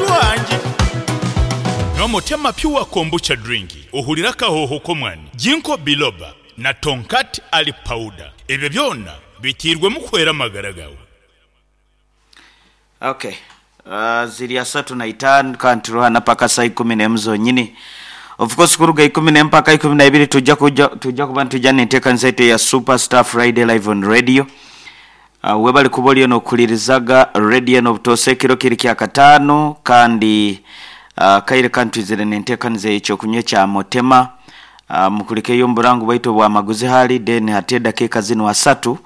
Tatuhangire. Nywa Motema Pure Kombucha Drink ohurire akahooho k'omwani, Ginkgo Biloba na Tongkat Ali Powder. Ebyo byona biteirwemu kuhwera amagara gaawe. Ok ziri asatu na itaanu kandi turiho hana paka saaha ikumi n'emu zonyini. Of course kuruga ikumi n'emu paka ikumi na ibiri tujja kuja tujja kuba nitwija n'enteekanisa yaitu eya Super Star Friday Live on Radio. Webale kuba oriyo n'okuhuririzaga radio enu obutoosa ekiro kiri kyakataano kandi akaire kanu twizire n'enteekaniza ey'ekyokunywa ekya Motema. Mukulikeyo omu burango bwaitu obw'amaguzi hali then hati edakiika zinu asatu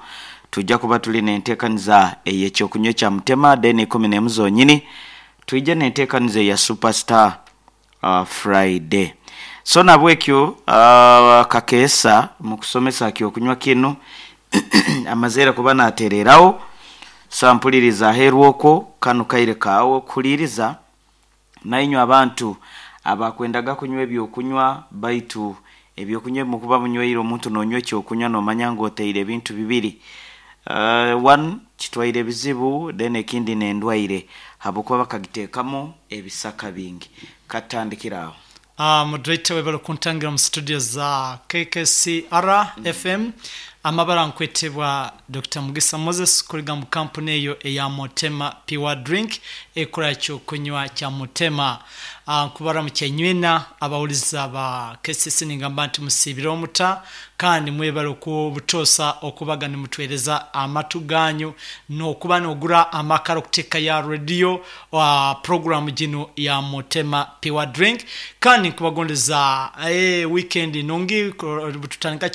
twija kuba tuli n'enteekaniza ey'ekyokunywa ekya Mutema then ikumi n'emu zonyini twije n'enteekaniza eya Super Star Friday. So nabwekyo Kakeesa mu kusomesa aha kyokunywa kinu amazeire kuba natereeraho, so mpuliriza aheeru okwo kanu kaire kaawe okuhuliiriza. Nainywe abantu abakwendaga kunywa eby'okunywa, baitu eby'okunywa ebi mukuba munyweire omuntu nonywa eky'okunywa nomanya ngu oteire ebintu bibiri. One kitwaire ebizibu then ekindi n'endwaire habwokuba bakagitekamu ebisaka bingi. Katutandikire aho. Moderator webale kuntangira omu studio za KKCR FM. Amabara nkwetebwa Dokita Mugisa Moses kuruga mu kampuni eyo eya Motema Pure Drink ekora ekyokunywa kya Motema. Nkubaramukya inywena abawuliza ba KCC ningamba nti musiibire muta kandi mwebale okubutoosa okubaga nimutwereza amatu ganyu nokuba nogura amakara okutekayo aha radio puroguramu ginu ya Motema Pure Drink kandi nkubagondeza weekend nungi bututandika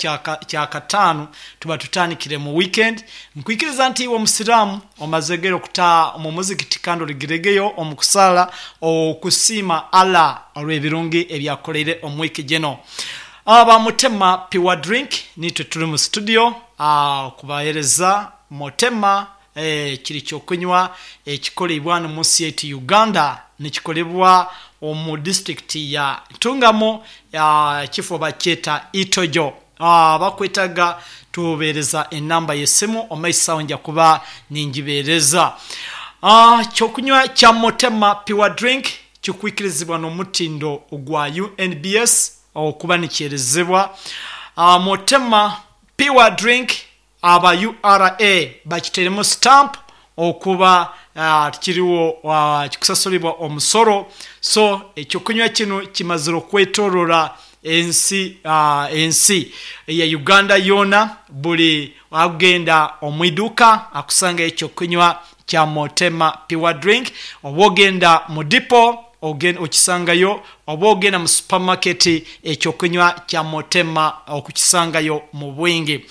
kyakataano tuba tutandikire mu weekend. Nkwikiriza nti iwe omusiraamu omazegere okutaaha omu muzikiti kandi origiregeyo omu kusaala okusiima Allah olw'ebirungi ebyakukoleire omu wiiki gino. Aba Mutema Pure Drink niitwe turi mu studio kubahereza Mutema Kiri ky'okunywa ekikoleibwa ghano mu nsi yaitu Uganda. Nikikolebwa omu disiturikiti ya Ntungamo, ekifo bakyeta Itojo. Abakwetaga tubeereza enamba y'esimu omu maiso agho nja kuba ningibeereza. Ky'okunywa kya Motema Pure Drink kikwikirizibwa n'omutindo gwa UNBS okuba nikyerezebwa. Motema Pure Drink Aba ura bakitairemu stamp okuba tikiriwo kikusasulibwa omusoro so ekyokunywa kinu kimazire okwetorora ensi ensi eya Uganda yoona buli agenda omwiduuka akusangayo ekyokunywa kya Motema Pure Drink oba ogenda mu dipo okisangayo oba ogenda mu supamaketi ekyokunywa kya Motema okukisangayo mu bwingi.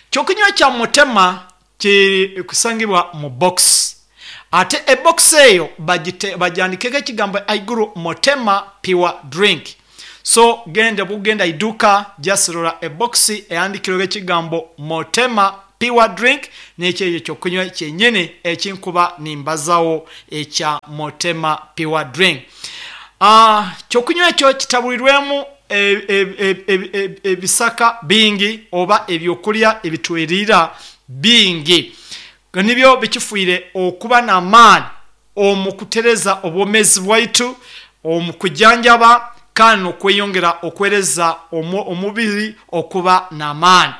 Kyokunywa kya Motema kiri kusangibwa mu bokisi ate ebokisi eyo bagyandiikeku ekigambo ghaigulu Motema Pure Drink. So genda bwogenda eiduuka just rora ebokisi eghandikirweku ekigambo Motema Pure Drink n'ekyo ekyokunywa kyenyini ekinkuba nimbazagho ekya Motema Pure Drink. Ekyokunywa ekyo kitabwirwemu ebisaka bingi oba ebyokulya ebitweriira bingi. Nibyo bikifiire okuba n'amaani omu kutereza obwomeezi bwaitu, omu kujanjaba kandi n'okweyongera okwereza omubiri okuba n'amaani.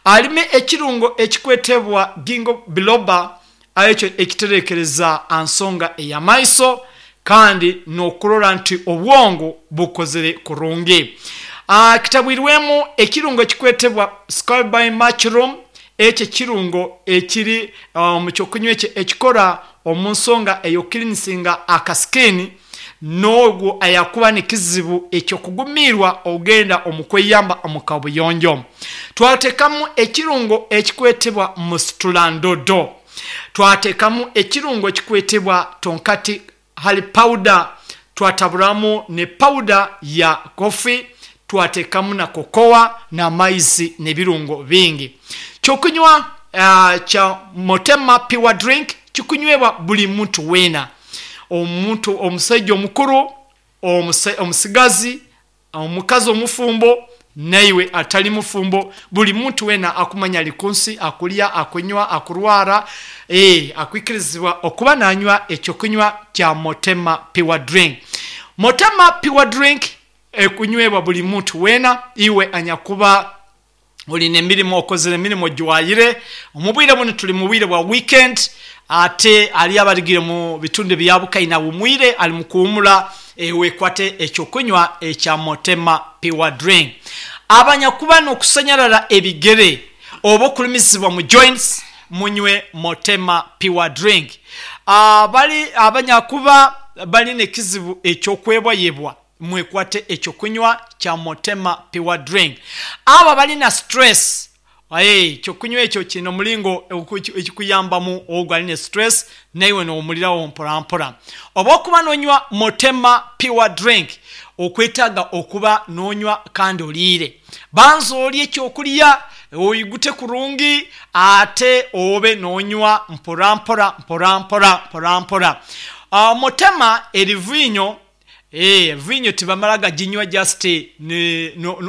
Alime ekirungo ekikwetebwa Ginkgo biloba ekyo ekiterekereza ansonga ey'amaiso kandi n'okurora nti obwongo bukozire kurungi. Kitabwirwemu ekirungo ekikwetebwa Scoby mushroom ekyo ekirungo ekiri omu ky'okunywa ekyo ekikora omu nsonga ey'okukilinisinga akasikini n'ogwo ayakuba n'ekizibu eky'okugumiirwa ogenda omu kweyamba omu kabuyonjo. Twatekamu ekirungo ekikwetebwa musitulandodo. Twatekamu ekirungo ekikwetebwa tonkati hali pawuda. Twataburamu ni pawuda ya kofi, twatekamu na kokowa n'amaizi n'ebirungo bingi. Ky'okunywa kya Motema Pure Drink kikunywebwa buli muntu weena, omuntu omusaija omukuru, omusigazi, omukazi omufumbo. Naiwe atali mufumbo, buli muntu weena akumanya ali ku nsi, akulya, akunywa, akurwara, ee, akwikirizibwa okuba nanywa ekyokunywa kya Motema Pure Drink. Motema Pure Drink ekunywebwa buli muntu weena, iwe anyakuba olina emirimo, okozire emirimo ojwayire. Omu bwire bunu tuli mu bwire bwa weekend, ate hariyo abarugire mu bitundu ebya Bukaina awumwire, ali mu kuwumura, wekwate ekyokunywa ekya Motema Pure Drink. Abanyakuba n'okusanyarara ebigere oba okurumizibwa mu joints, munywe Motema Pure Drink. Abali abanyakuba bali n'ekizibu eky'okwebwayebwa, mwekwate ekyokunywa kya Motema Pure Drink. Abo abalina stress, ekyokunywa ekyo kiine omuringo ekikuyambamu ogwo aline stress naiwe nowumuliraho mpora mpora. Oba okuba nonywa Motema Pure Drink, okwetaaga okuba nonywa kandi oriire. Banza orye ekyokurya oigute kurungi ate obe nonywa mpora mpora mpora mpora mpora mpora. Motema eri viinyo. Eeh viinyo tibamala gaginywa just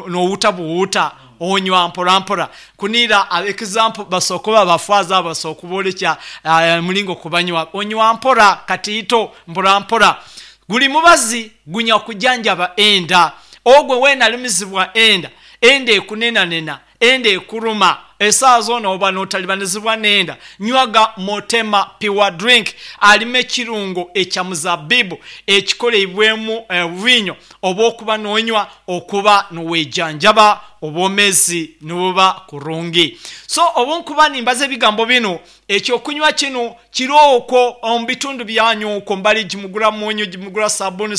nowuuta buwuuta, onywa mpora mpora. Kuniira example basobola kuba ba faaza abo basobola kuborekya omuringo kubanywa. Onywa mpora katiito mpora mpora. Guri mubazi gunya kujanjaba enda. Ogwo weena arumizibwa enda, enda ekunenanena, Enda ekuruma esaawa zoona oba notalibanizibwa n'enda, nywaga Motema Pure Drink. Alimu ekirungo ekya muzabibu ekikoleibwemu viinyo oba okuba nonywa okuba nowejanjaba obwomezi nibuba kurungi. So obunkuba nimbaza ebigambo binu, Eky'okunywa kinu kiri okwo omu bitundu byanyu okwo mbali gimugura munyu, gimugura sabuni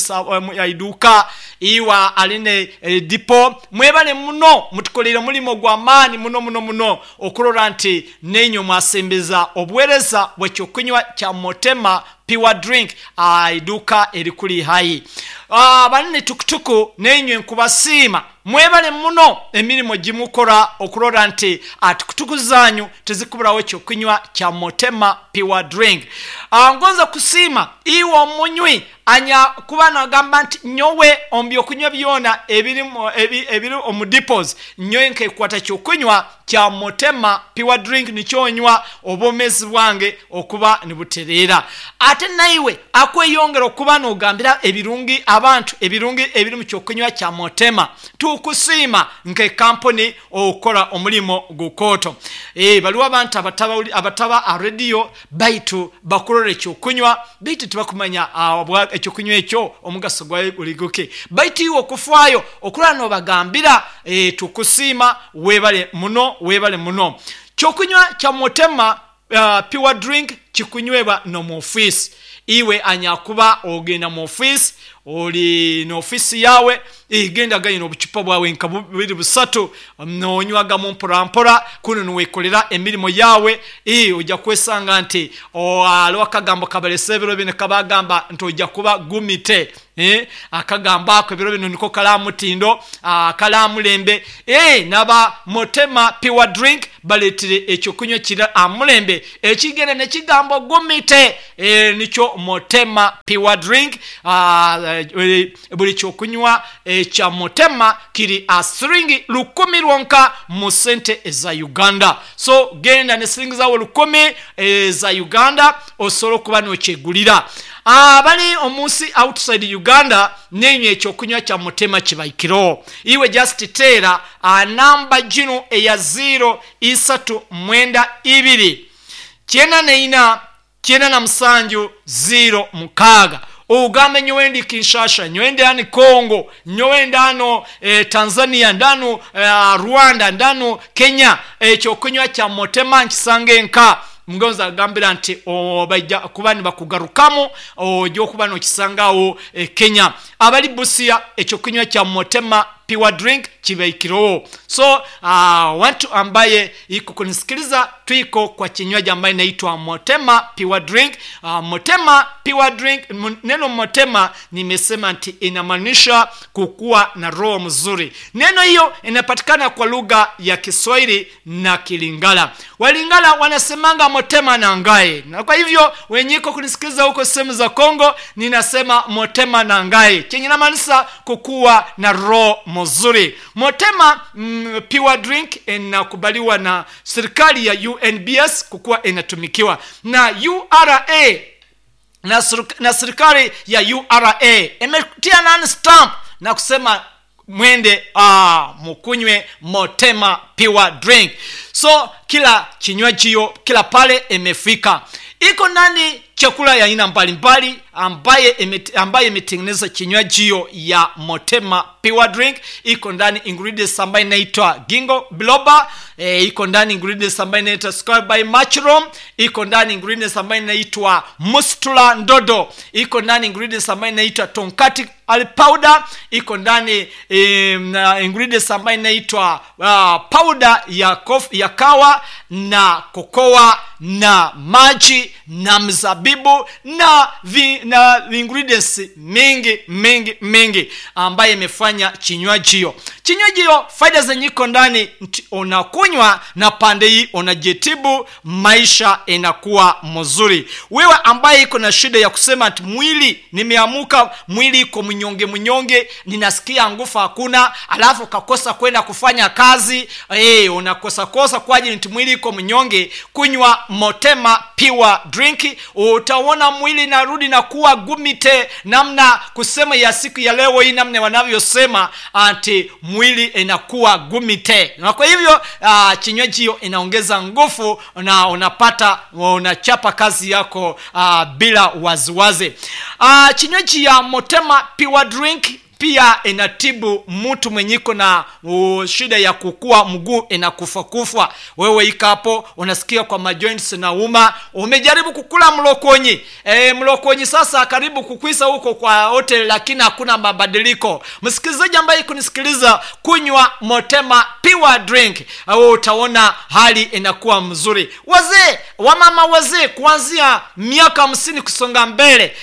ya iduuka, iwe aline dipo. Mwebale muno, mutukoleire omulimo gwa maani muno muno muno okurora nti nainywe mwasembeza obuwereza bw'ekyokunywa kya Motema Pure Drink aha iduuka erikuri haihi. Abaline tukutuku nainywe nkubasiima. Mwebale muno emirimo gimukora okurora nti tukutuku zanyu tizikuburaho ekyokunywa kya Motema Pure Drink. Ngonza kusiima iwe omunywi anya kuba nagamba nti nyowe omu byokunywa byona ebiri omu depots nyowe nkekwata kyokunywa kya Motema Pure Drink nikyo nywa obwomezi bwange okuba nibutereera. Ate naiwe akweyongera okuba nogambira ebirungi abantu ebirungi ebiri mu kyokunywa kya Motema. Tukusiima nke kampuni okukora omurimo gukooto. Bariho abantu abataba aha rediyo baitu bakurora ekyokunywa baitu tibakumanya ekyokunywa ekyo omugaso gwayo guri guki. Baitu iwe okufwayo okurora nobagambira, tukusiima webale muno webale muno. Kyokunywa kya Motema Pure drink kikunywebwa n'omu ofiisi. Iwe anyakuba ogenda mu ofiisi, ori n'ofiisi yaawe, genda gayo n'obucupa bwawe nka bubiri busatu, nonywagamu mpora mpora kunu niwekorera emirimo yaawe. Oija kwesanga nti hariho akagambo kabaretsire ebiro binu kabagamba nti oija kuba gumite. Akagambo ako ebiro binu niko kari aha mutindo, kari aha murembe. N'aba Motema Pure Drink bareetire eky'okunywa ekiri aha murembe ekigenda n'ekigambo gumite. Nikyo Motema Pure Drink. Buri ky'okunywa ekya Motema kiri aha siringi rukumi rwonka mu sente eza Uganda. So genda n'esiringi zaawe rukumi eza Uganda osobole okuba nokyegurira. Abari omunsi outside Uganda neinywe ekyokunywa kya Mutema kibaikireho. Iwe just teera aha namba ginu eya ziiro isatu mwenda ibiri kyenda neina kyenda na musanju ziiro mukaaga ogambe nyowe ndi Kinshasha, nyowe ndi hanu Congo, nyowe ndi hanu Tanzania, ndi hanu Rwanda, ndi hanu Kenya, ekyokunywa kya Motema nkisange nka. Ngonza agambira nti baija kuba nibakugarukamu oija okuba nokisanga awo Kenya. Abari Busia ekyokunywa kya Motema Pure Drink kibaikireho. So wantu ambaye iko kunisikiliza twiko kwa kinywaji ambaye inaitwa Motema Pure Drink. Motema Pure Drink, neno Motema nimesema nti inamaanisha kukuwa na roho mzuri. Neno hiyo inapatikana kwa lugha ya Kiswahili na Kilingala. Walingala wanasemanga Motema na Ngai, na kwa hivyo wenyiko kunisikiliza huko sehemu za Kongo, ninasema Motema na Ngai chenye inamaanisha kukuwa na roho. mzuri. Motema Pure Drink inakubaliwa na serikali ya UNBS kukuwa inatumikiwa na URA na serikali ya URA imetia nani stamp na kusema mwende mukunywe Motema Pure Drink. So kila kinywajio kila pale imefika, iko ndani chakula ya aina mbalimbali ambaye imetengeneza kinywajio ya Motema Pure Drink. Iko ndani ingredients ambayo inaitwa Ginkgo biloba, iko ndani ingredients ambayo inaitwa square by mushroom, iko ndani ingredients ambayo inaitwa mustula ndodo, iko ndani ingredients ambayo inaitwa tonkati al powder, iko ndani ingredients ambayo inaitwa powder ya kawa na kokoa na maji na mzabibu na ingredients mingi mingi mingi ambaye imefanya kinywajio. Kinywajio faida zenye iko ndani, unakunywa na pande hii unajitibu, maisha inakuwa mzuri. Wewe ambaye iko na shida ya kusema ati mwili nimeamuka, mwili iko mnyonge mnyonge, ninasikia nguvu hakuna, alafu kakosa kwenda kufanya kazi, unakosa kosa kwa ajili ati mwili iko mnyonge, kunywa Motema Pure Drink, utaona mwili narudi na kuwa gumite, namna kusema ya siku ya leo hii, namna wanavyosema ati mwili inakuwa gumite. Na kwa hivyo kinywaji hiyo inaongeza nguvu na unapata unachapa kazi yako bila waziwazi. Kinywaji ya Motema Pure Drink pia inatibu mtu mwenye iko na shida ya kukua mguu inakufa kufa. Wewe ika hapo unasikia kwa majoints na uma, umejaribu kukula mlokonyi. Mlokonyi sasa karibu kukwisa huko kwa hotel, lakini hakuna mabadiliko. Msikilizaji ambaye kunisikiliza, kunywa Motema Pure Drink, au utaona hali inakuwa mzuri. Wazee, wamama wazee kuanzia miaka 50 kusonga mbele,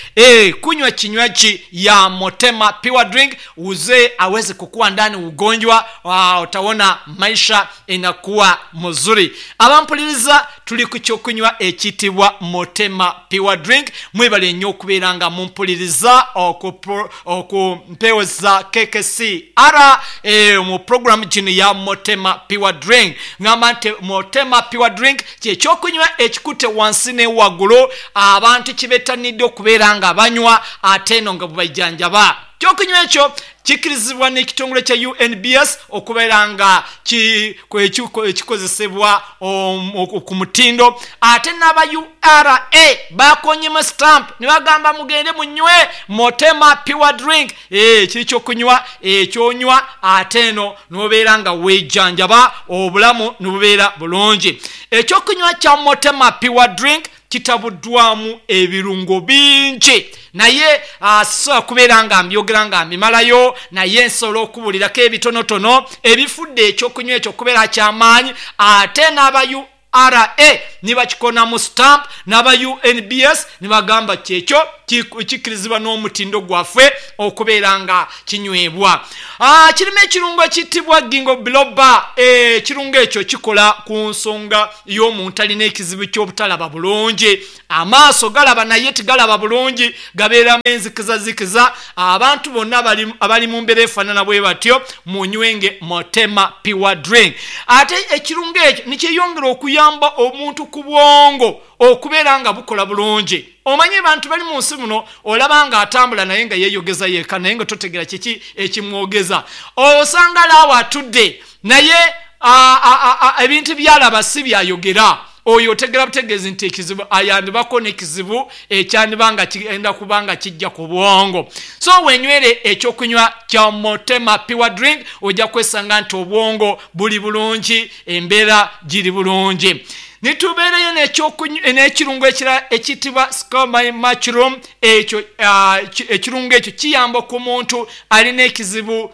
kunywa kinywaji ya Motema Pure Drink, uzee aweze kukua ndani ugonjwa, utaona maisha inakuwa mzuri. Abampuliriza tuli ku kyokunywa ekiyitibwa Motema Pure Drink, mwebale nnyo okubeera nga mumpuliriza okumpeweza KKCR mu program gino ya Motema Pure Drink. Ngamba nti Motema Pure Drink kyekyokunywa ekikutte wansi ne waggulu, abantu kibetanidde okubeera nga banywa ate eno nga bwebajjanjaba. Kyokunywa ekyo kikirizibwa n'ekitongole kya UNBS okubeera nga kikozesebwa ku mutindo, ate n'aba URA bakonyemu stamp ne bagamba mugende munywe Motema Pure Drink. Kiri kyokunywa ekyonywa ate eno n'obeera nga weejjanjaba, obulamu ne bubeera bulungi. Ekyokunywa kya Motema Pure Drink kitabuddwamu ebirungo bingi, naye sisobola kubeera nga mbyogera nga mbimalayo, naye nsobola okubulirako ebitonotono ebifudde ekyokunywa ekyo okubeera kyamaanyi. Ate n'aba URA nibakikonamu stamp, n'aba UNBS nibagamba kyekyo kikirizibwa n'omutindo gwaffe okubeera nga kinywebwa. Kirimu ekirungo ekiyitibwa Ginkgo biloba. Ekirungo ekyo kikola ku nsonga y'omuntu alina ekizibu ky'obutalaba bulungi. Amaaso galaba naye tegalaba bulungi, gabeeramu enzikizazikiza. Abantu bonna abali mu mbeera efaanana bwe batyo, munywenge Motema Pure Drink. Ate ekirungo ekyo nikyeyongera okuyamba omuntu ku bwongo okubeera nga bukola bulungi. Omanyi abantu bali mu nsi muno, olaba nga atambula naye nga yeeyogeza yekka, naye nga totegera kiki ekimwogeza. Osanga laawo atudde naye ebintu byalaba si byayogera. Oyo otegera butegeezi nti ekizibu ayandibako n'ekizibu ekyandiba nga kigenda kuba nga kijja ku bwongo. So wenywere ekyokunywa kya Motema Pure Drink, ojja kwesanga nti obwongo buli bulungi, embeera giri bulungi. Nitubeereyo n'ekirungo ekirala ekiyitibwa scoby mushroom. Ekyo ekirungo ekyo kiyamba ku muntu alina ekizibu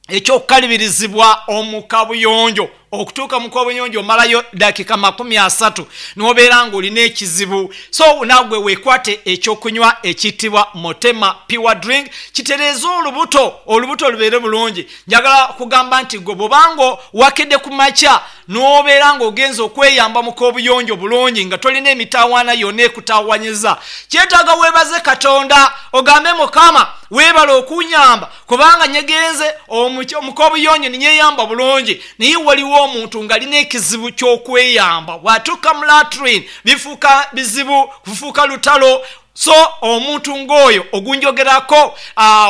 ekyokukalubirizibwa omukabuyonjo. Okutuuka mu kabuyonjo omalayo dakika 30 n'obeera ng'olina ekizibu. So nagwe weekwate ekyokunywa ekiyitibwa Motema Pure Drink, kitereeze olubuto, olubuto lubeere bulungi. Njagala kugamba nti gwe bw'obanga wakedde ku makya n'obeera ng'ogenza okweyamba mu kabuyonjo bulungi nga tolina emitawaana yonna ekutaawanyiza, kyetaaga weebaze Katonda, ogambe Mukama Weebale okunyamba kubanga nyegenze omu k'obuyonjo ninyeyamba bulungi. Naye waliwo omuntu ng'alina ekizibu ky'okweyamba, bw'atuuka mu latrine bifuuka bizibu, kufuuka lutalo. So omuntu ng'oyo ogunjogerako,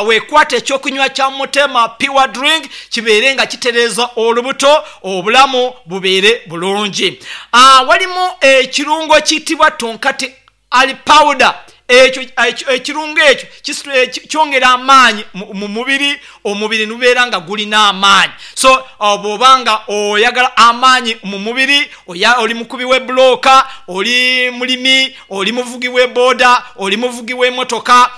weekwate ekyokunywa kya Mutema Pure Drink kibeere nga kitereeza olubuto, obulamu bubeere bulungi. Walimu ekirungo ekiyitibwa tonkati Ali powder ekyo ekirungo ekyo kyongera amaanyi mu mubiri, omubiri nubeera nga gulina amaanyi. So bw'oba nga oyagala amaanyi mu mubiri, oli mukubi w'ebbulooka, oli mulimi, oli muvugi w'ebooda, oli muvugi w'emotoka,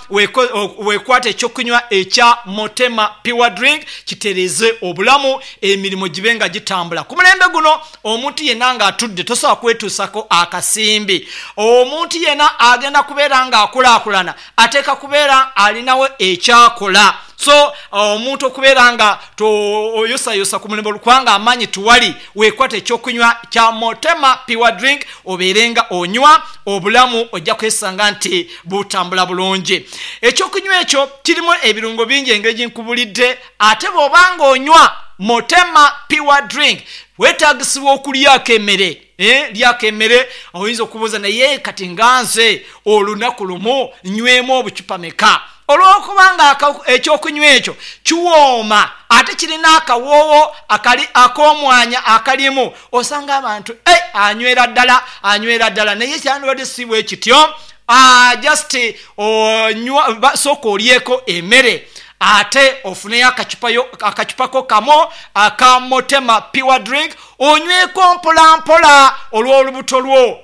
weekwate ekyokunywa ekya Motema Pure Drink kitereeze obulamu, emirimo gibe nga gitambula. Ku mulembe guno Omuntu yenna ng'atudde tosobola kwetuusako akasimbi. Omuntu yenna agenda kubeera ng'akulaakulana ateeka kubeera alinawo ekyakola. So omuntu okubeera nga toyosayosa ku mulimu kubanga amaanyi tiwali, weekwate ekyokunywa kya Motema Pure Drink obeere nga onywa, obulamu ojja kwesanga nti butambula bulungi. Ekyokunywa ekyo kirimu ebirungo bingi engeri gye nkubulidde ate bw'oba ng'onywa Motema Pure Drink Weetaagisibwa okulyako emere. Eh, lyako emere. Oyinza okubuuza, naye kati nga nze olunaku lumu nywemu obucupa meka? Olw'okuba nga ekyokunywa ekyo kiwooma ate kirina akawoowo akali ak'omwanya akalimu, osanga abantu eh, anywera ddala, anywera ddala. Naye kyandibadde si bwe kityo. Ah, just onywa, sooka olyeko emere Ate ofuneyo akacupa ko kamu aka Motema Pure Drink onyweko mpola mpola olw'olubuto lwo,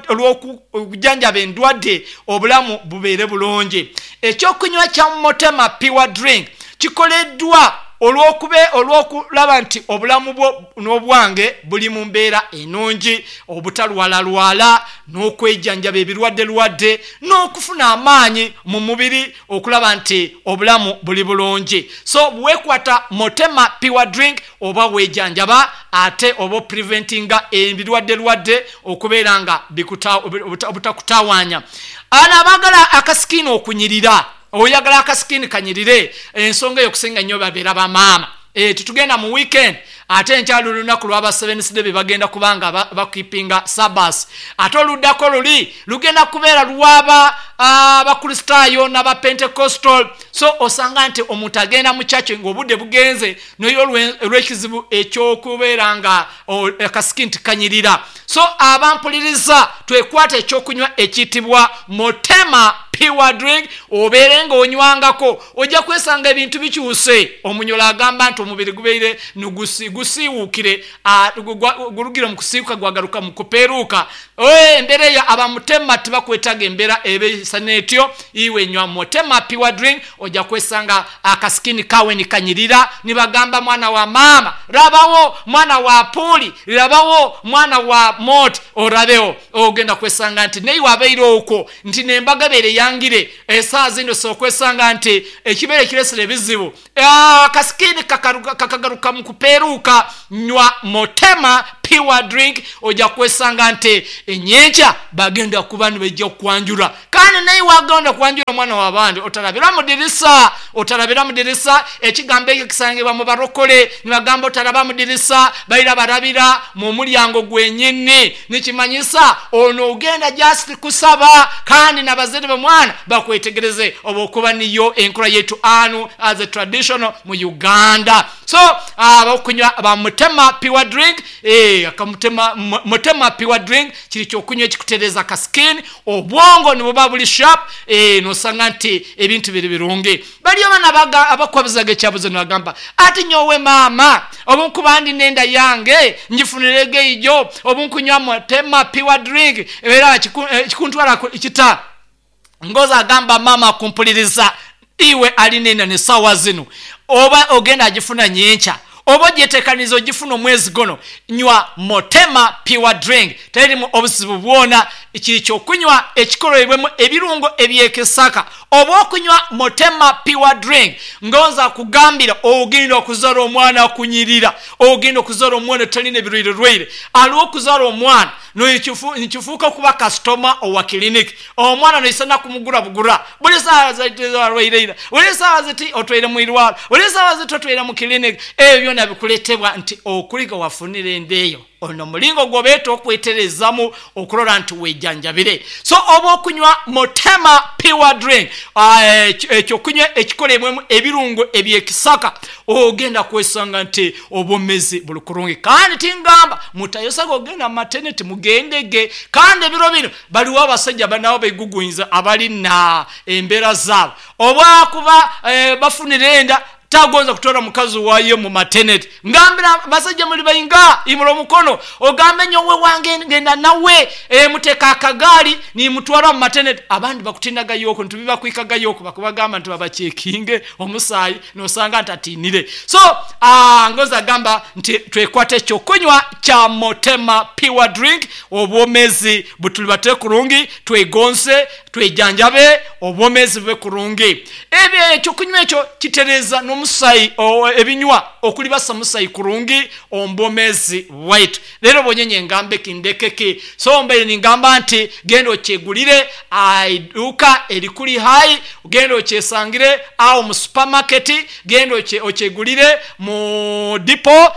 olw'okujanjaba endwadde obulamu bubeere bulungi. Ekyokunywa kya Motema Pure Drink kikoleddwa olw'okulaba nti obulamu bwo n'obwange buli mu mbeera enungi, obutalwalalwala n'okwejanjaba ebirwaddelwadde n'okufuna amaanyi mu mubiri okulaba nti obulamu buli bulungi. So wekwata Motema Pure Drink oba wejanjaba ate oba opreventinga ebirwaddelwadde okubeera nga obutakutawanya. Ano abagala akasikiini okunyirira, oyagala akasikiini kanyirire, ensonga eyo okusinga nnyo babeera bamaama. Titugenda mu weekend ate enkya luli lunaku lwaba Seventh Day bebagenda kubanga bakipinga Sabbath, ate oluddako luli lugenda kubeera lwaba Abakristaayo n'aba Pentecostal. So osanga nti omuntu agenda mu church ng'obudde bugenze naye olw'ekizibu eky'okubeera nga akasiki nti kanyirira. So abampuliriza, twekwate ekyokunywa ekiyitibwa Motema Pure Drink, obeere ng'onywangako, ojja kwesanga ebintu bikyuse. Omunyolo agamba nti omubiri gubeire gusiiwuukire, gulugire mu kusiiwuuka gwagaruka mu kupeeruuka. Embeera eyo abamutema tibakwetaaga embeera ebeisana etyo. Iwe nywa Motema Pure Drink, ojja kwesanga akasikini kawe nikanyirira, nibagamba mwana wa maama rabawo, mwana wa puuli rabawo, mwana wa moti orabewo. Ogenda kwesanga nti neiwe abeire okwo nti nembaga ebeire yangire esaawa zino, osobola okwesanga nti ekibeire ekiresere ebizibu, akasikini kakagaruka mu kupeeruuka. Nywa Motema Pure Drink, ojja kwesanga nti enyenkya bagenda kuba nibaija okukwanjura. Kandi naiwe agenda kwanjura omwana w'abandi, otarabira mu dirisa, otarabira mu dirisa. Ekigambo ekyo kisangibwa mu barokole, nibagamba otaraba mu dirisa, baira barabira mu mulyango gwenyini. Nikimanyisa ono ogenda just kusaba, kandi n'abazaire b'omwana bakwetegereze, oba okuba niyo enkura yaitu anu as a traditional mu Uganda. So abakunywa ba Mutema Pure Drink, akamutema Mutema Pure Drink kiri kyokunywa ekikutereza ka skin, obwongo nibuba buli sharp, nosanga nti ebintu biri birungi. Baliyo bana abakwabuzaga ekyabuzo nibagamba ati nyowe maama obunkuba ndi nenda yange ngifunirege ijo, obunkunywa Mutema Pure Drink era kikuntwara kita. Ngozi agamba maama akumpuliriza, iwe alina enda ne saawa zino oba ogenda agifuna nyenkya. Oba ogyeteekaniize ogifuna omwezi guno, nywa Motema Pure Drink. Terimu obuzibu bwona. Kiri ky'okunywa ekikoroirwemu ebirungo eby'ekisaka. Oba okunywa Motema Pure Drink, ngonza kugambira ogenda okuzara omwana akunyirira, ogenda okuzara omwana atalina ebirwairerwaire. Aliwo okuzara omwana nikifuuka okuba kasitoma owa kiliniki. Omwana noisana kumugura bugura buli saawa ziti arwaire ira, buli saawa ziti otwaire mu irwaro, buli saawa ziti otwaire mu kiliniki. Ebyo byona bikuletebwa nti okuliga wafunire enda eyo. Ono omulingo gwobeeta okwetereezamu okurora nti wejanjabire. So oba okunywa Motema Pure Drink, ekyokunywa ekikoleibwemu ebirungo ebyekisaka, ogenda kwesanga nti obwomezi buli kurungi. Kandi tingamba mutayosaga ogenda mu mateneti, mugendege. Kandi ebiro bino baliwo abasaija nabo begugunyiza abali na embeera zaabo. Obwakuba bafunire enda, tagonza kutoora mukazi wayo mu mateneti. Ngambira basaija muli bainga, imura omukono ogambe nyowe wange ngenda nawe, muteka akagaali nimutwara mu mateneti. Abandi bakutinagayoku nti bibakwikagayoku bakubagamba nti babacekinge omusaayi nosanga nti atinire. So ngonza gamba nti twekwate ekyokunywa kya Motema Pure Drink, obwomezi butulibate kurungi, twegonze, twejanjabe, obwomezi bube kurungi. Ebyo ekyokunywa ekyo kitereeza n'omusaayi, ebinywa okulibasa omusaayi kurungi omu bwomeezi bwaitu. Reero bwonyenye ngambe ki ndeke ki? So mbaire ningamba nti genda okyegulire aha iduuka erikuri haihi, genda okyesangire aho omu supamaketi, genda okyegulire mu dipo,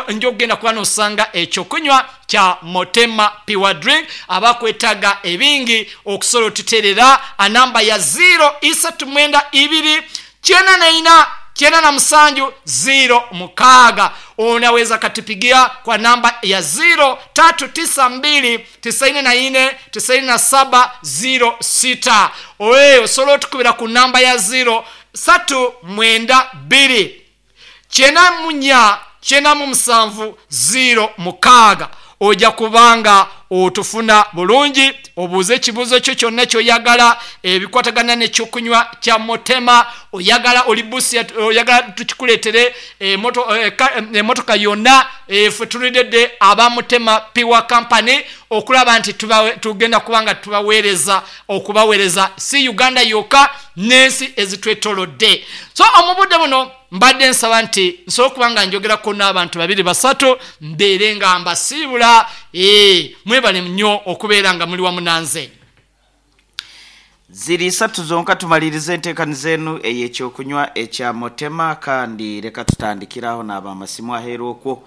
njo okugenda kuba nosanga ekyokunywa kya Motema Pure Drink. Abakwetaga ebingi okusobola otuterera anamba ya ziiro isatu mwenda ibiri kyenda na ina kyenda na musanju ziiro mukaaga. Onaweza akatupigia kwa namba ya ziiro tatu tisa mbili tisaini na ine tisaini na saba ziiro sita. Oe osobola otukubira ku namba ya ziiro satu mwenda bbiri kyenda mu nya kyenda mu musanvu ziiro mukaaga. Oja kuba nga otufuna bulungi, obuuze ekibuuzo kyo kyonna ky'oyagala ebikwatagana n'ekyokunywa kya Motema. Oyagala oli Busia, oyagala tukikuleetere emotoka yonna. Ffe tulidde aba Motema Pure Company okulaba nti tugenda kuba nga tubaweereza, okubaweereza si Uganda yokka n'ensi ezitwetolodde. So omu budde buno mbadde nsaba nti nsobole okuba nga njogerako n'abantu babiri basatu mbeere nga mbasiibula. Mwebale nnyo okubeera nga muli wamu nanze. Ziri isatu zonka tumalirize enteekaniza enu ey'ekyokunywa ekya Motema kandi leka tutandikire aho naaba amasimu aheeru okwo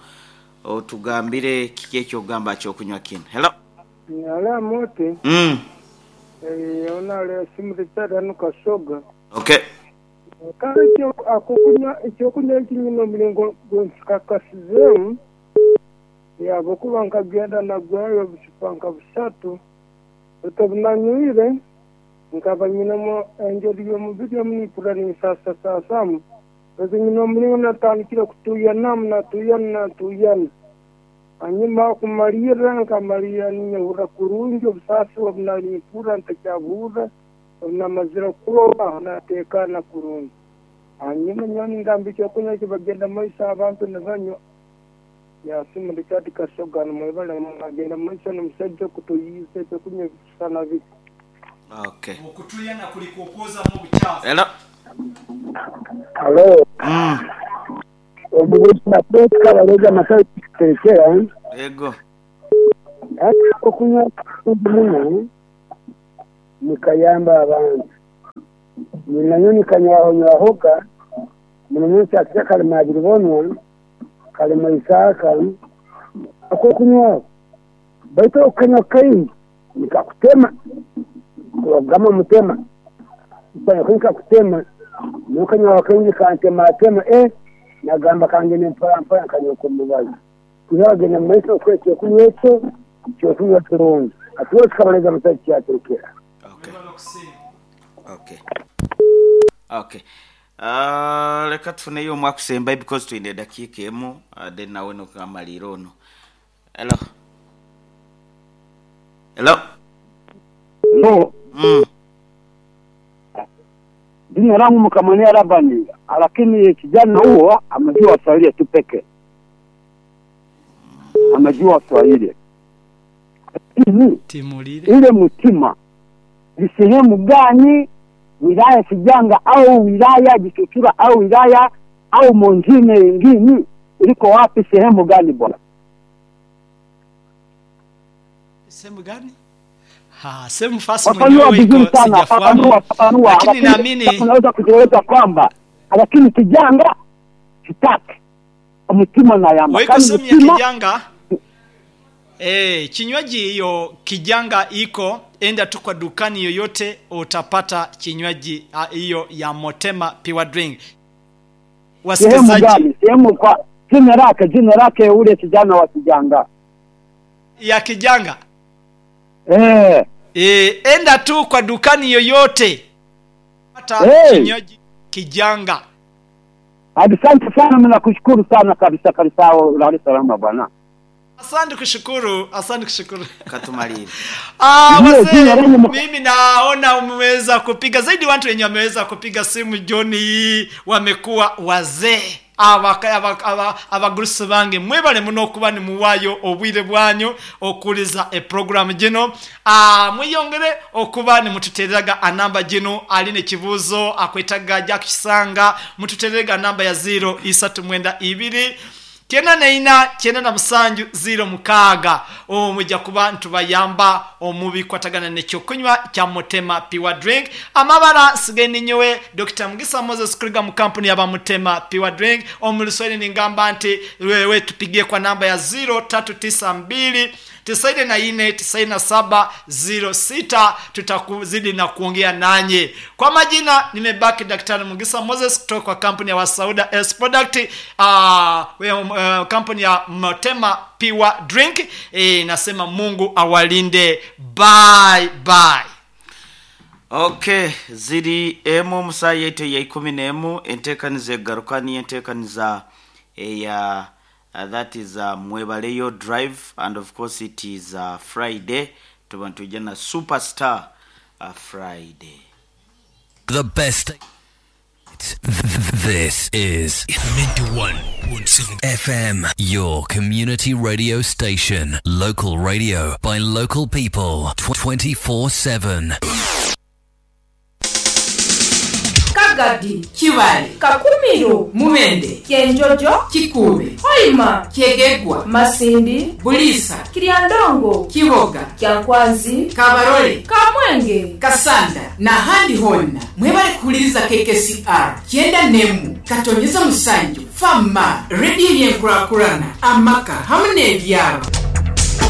otugambire kiki eky'okugamba aha kyokunywa kinu. Hello. Halo Amooti. Ono ali Simu Richard hanu Kasoga. Okay. Kale akokunywa ekyokunywa eki nyine omulingo gwenkikakasizeemu ahabw'okuba nkagenda nagurayo obucupa nka busatu beitu obunanywire nkaba nyinemu engeri y'omubiri omu nimpurira ninsasasaasamu beitu nyine omuringo natandikire kutuuyanamu natuuyana natuuyana hanyuma kumalirra nkamalirra ninyehurra kurungi obusaasi obu nali nimpurra ntakyabuhurra. Obu namazire kwoga, aho nateekaana kurungi. Hanyuma nyowe ningamba ekyokunywa eki bagenda mu maiso abantu nibanywa. Yasimu Richard Kasoga nimwebale mwagenda mu maiso n'omusaija okutuyiisa ebyokunywa ebikusisana biti. Okay. Okutuyana kuli kwokwozamu obukyafu. Hello. Halo. Omuguzi na Peter Kabalega Masai Terekera. Yego. Okunywa muno nikayamba abantu. Nainye nikanywaho-nywahoga, muno muno kyakikya kalema abiribonwa, kalema Isaaka, akokunywaho. Baitu okukanywa kaingi nikakutema, ogama mutema. Kukanywa kaingi kakutema, nyowe kanywaho kaingi kantematema, eh, nagamba kangende mpora mpora nkanywa omubazi. Kwihaho agenda mu maiso okukora ekyokunywa ekyo, kyokunywa kirungi. Hati we kikabareza mutahi kyatekera. Okay. Okay. Okay. Uh, leka tufuneyo omu akusembayo because twine edakiika emu uh, then nawe nokamaliira ono. Hello. Hello. No. Jina langu Mukamwania Labani, lakini kijana huo amejua Swahili tu peke, amejua Swahili lakini Timulire. ile mtima ni sehemu gani wilaya Sijanga au wilaya Jitutura au wilaya au mwingine ingine iliko wapi, sehemu gani bwana? Sehemu gani? Ha, sehemu fasi Fafanua mwenyewe vizuri iko sana, sijafahamu. fafanua, fafanua. Lakini naamini unaweza kutueleza kwamba lakini Kijanga sitaki mtima na yamba Weko Kani sehemu ya mtima kijanga. Kinywaji hiyo kijanga iko, enda tu kwa dukani yoyote utapata kinywaji hiyo ya Motema Pure Drink. sehemu Wasikilizaji, gani? Sehemu kwa jina lake, jina lake ule kijana wa Kijanga ya kijanga. eh. Enda tu kwa dukani yoyote pata Hey. kinywaji kijanga. Asante sana, mimi nakushukuru sana kabisa kabisa, ulale salama bwana. Asante kushukuru, asante kushukuru. Katumalire. Ndio, Wazee, jina lenye mimi naona umeweza kupiga zaidi. Watu wenye wameweza kupiga simu jioni hii wamekuwa wazee abagurusi bange mwebale muno okuba nimuwayo obwire bwanyu okuliza eprogramu gino. Mwiyongere okuba nimututereraga anamba gino aline ekibuuzo akwetaga jakisanga mututererega namba ya 0 isatu mwenda ibiri 94 97 06 omujja kuba ntubayamba omubikwatagana nekyokunywa kya Mutema Pure Drink. Amabara nsigaye ninyowe Dr. Mugisa Moses kuriga mu kampuni yaba Mutema Pure Drink. Omuluswahili ningamba nti wewe tupigie kwa namba ya 0392 94 97 06, tutakuzidi na kuongea nanye. Kwa majina nimebaki Daktari Mugisa Moses kutoka kwa kampuni ya Wasauda S Product, kampuni ya Motema Pure Drink. Nasema Mungu awalinde. Bye bye. Okay, ziri emu musa yaitu ya 11 enteekaniza egaruka niyo enteekaniza eya that is Mwebaleyo Drive, and of course it is Friday. Tuba ntujja na Superstar Friday. The best. This is 91.7 FM, your community radio station. Local radio by local people 24/7. Kagadi, Kibale, Kakumiro, Mubende, Kyenjojo, Kikuube, Hoima, Kyegegwa, Masindi, Buliisa, Kiryandongo, Kiboga, Kyankwanzi, Kabarole, Kamwenge. Kasanda n'ahandi honna mwebale kuwuliriza KKCR 91 katonyeza musanju fama rediyo y'enkulaakulana amaka hamu n'ebyalo.